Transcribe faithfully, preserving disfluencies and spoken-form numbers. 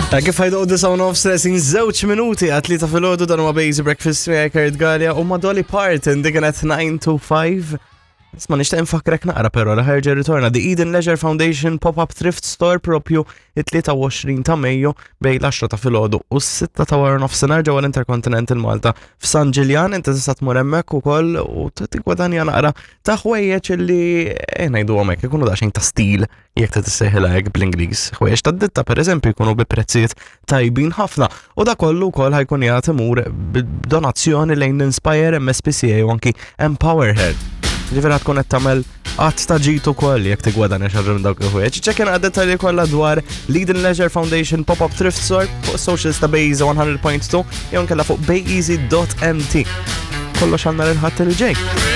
Ta' kif ħajdu disa u nofs resin żewġ minuti għat-tlieta filgħodu, dan huwa Bejzy Breakfast miegħi Kurt Galea u ma' Dolly Parton, dik kienet nine to five. Isma', nixtieq nfakkrek naqra però li ħa jerġa' jirritorna The Eden Leisure Foundation Pop-Up Thrift Store propju it-tlieta u għoxrin ta' Mejju bejn l-għaxra ta' filgħodu u s-sitta ta' wara nofsinhar ġewwa l-Intercontinental Malta f'San Ġiljan. Inti tista' tmur hemmhekk ukoll u tigwadanja naqra ta' ħwejjeġ li eh, ngħidu hekk ikunu daqsxejn ta' stil, jekk ta' tissejħilha hekk bl-Ingliż. Ħwejjeġ ta' ditta, pereżempju, jkunu bi prezzijiet tajbin ħafna u da kollu wkoll ħa jkun jagħti imur b'donazzjoni lejn Inspire, M S P C A u anki Empower Her. Ġifieri tkun qed tagħmel att ta' ġid ukoll jekk tigwadanja xi ħaġa minn dawk il-ħwejjeġ. Ċekkja dettalji kollha dwar l-Eden Leisure Foundation Pop-Up Thrift Store fuq socials ta' Bejza mija punt tnejn jew nkella fuq bayeasy dot M T. Kollox għandna l-Ħadd li ġej.